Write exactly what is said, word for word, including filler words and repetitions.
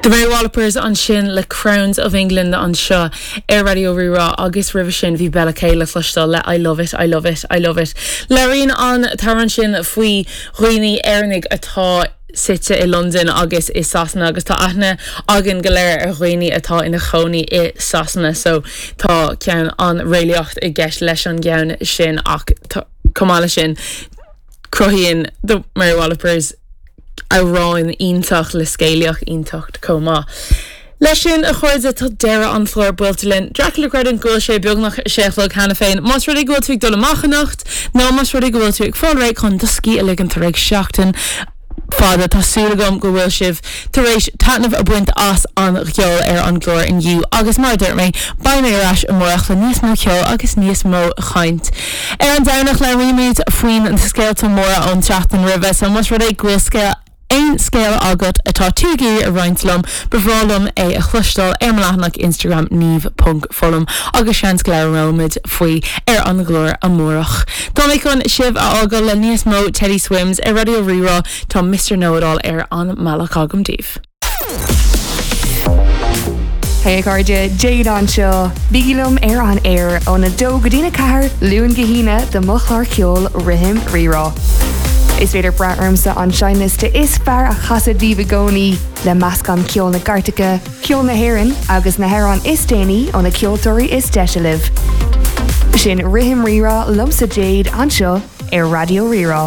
The Mary Wallopers ansin le Crowns of England anseo ar Raidió Rí-Rá agus roimhe sin bhí Bella K le cloisteáil le I love it, I love it, I love it. Labhraíonn an t-amhrán sin faoi dhaoine Éireannaigh atá suite i London agus i Sasana agus tá aithne againn go léir ar dhaoine atá ina chónaí i Sasana, so tá ceann an réalaíocht i gceist leis an gceann sin ach chomh maith leis sin cruthaíonn The Mary Wallopers amhrán iontach le scéalaíocht iontach chomh maith. Leis sin a chairde tá deireadh an chláir buailte linn. Dracula creidim go bhfuil sé beagnach sé a chlog cheana féin, Más rud é go bhfuil tú ag dul amach anocht nó más rud é go bhfuil tú ag fáil réidh chun do scíth a ligean tar éis seachtain fada tá súil agam go bhfuil sibh tar éis taitneamh a bhaint as an gceol ar an gclár inniu agus mar dúirt mé beidh mé ar ais amárach le níos mó ceol agus níos mó caint. Ar an Domhnach labhraímid faoin scéalta móra ón tseachtain roimhe, so más rud é go bhfuil scéal aon scéal agat atá tú ag iarraidh a roinnt liom, ba bhreá liom é a chloisteáil ar mo leathanach Instagram niamh.fullam agus seans go labhróimid faoi ar an gclár amárach. Tá mé chun sibh a fhágáil le níos mó Teddy Swims ar Raidió Rí-Rá tá Mr. Know-It-All ar an mbealach agam daoibh. Hey cairde Jade anseo, Bígí liom ar an aer óna dó go dtína ceathair Luan go hAoine do mo chlár ceoil Rithim Rí-Rá. Is féidir brath ormsa an seinnliosta is fearr a chasadh daoibh i gcónaí le meascán ceol na gcairteacha, ceol na hÉireann agus na hamhráin is déanaí ó na ceoltóirí is deise libh. Sin Rithim Rí-Rá liomsa Jade anseo ar Raidió Rí-Rá.